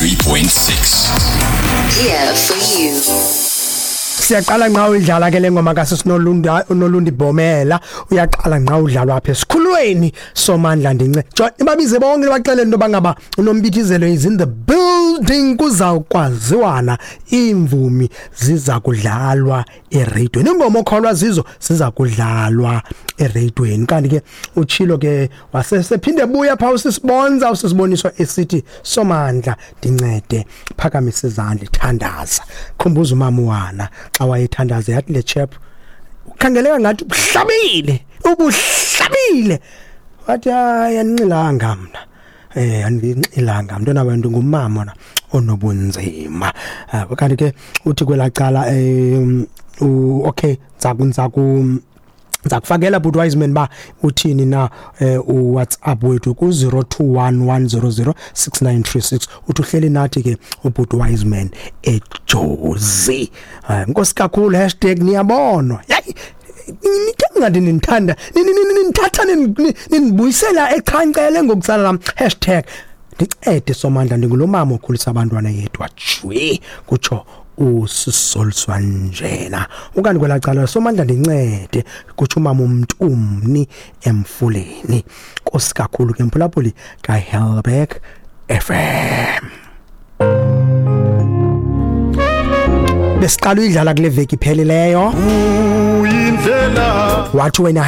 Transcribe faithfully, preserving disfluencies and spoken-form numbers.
ninety-three point six. Here for you. Siyaqala nqa udlala ke lengoma kaSisinolunda uNolundi Bomela uyaqala nqa udlalwa apha esikhulweni Somandla ndince. Jo ibabize bonke baxelele into bangaba uNombithizelo is in the building, kuzawukwaziwana imvumi ziza kudlalwa eradweni, ingoma okholwa zizo ziza kudlalwa eradweni. Kanti ke utshilo ke wasesephinde buya pha usisibonza usisiboniswa esithi Somandla ndincede, phakamisa izandla thandaza. Khumbuza umama wana xa wayethandaza yathi le chap ukhangeleka ngathi ubuhlabile ubuhlabile, wathi hayi andinxilanga mna, eh andinxilanga mntwana abantu ngumama onobunzima. Kanti ke uthi kwelacala eh okay nzaku nzakufakela but Wiseman ba uthini na u WhatsApp wethu ku zero two one one zero zero six nine three six uthi uhleli nathi ke uBut Wiseman eJozi. Nkosi kakhulu hashtag niyabonwa. Yayi nithanda nithanda nithatha ninibuyisela echancele ngokutsala lam hashtag ndicede Somandla ndingulomama okhulisa abantwana yedwa jwe kutsho usisoliswa njena. Ukanti kwelacala Somandla ndincede kutsho umama umntumni emfuleni. Nkosi kakhulu ke mphulaphuli kaHelberg F M. Besiqala uyidlala kule veki iphelileyo. Wathi wena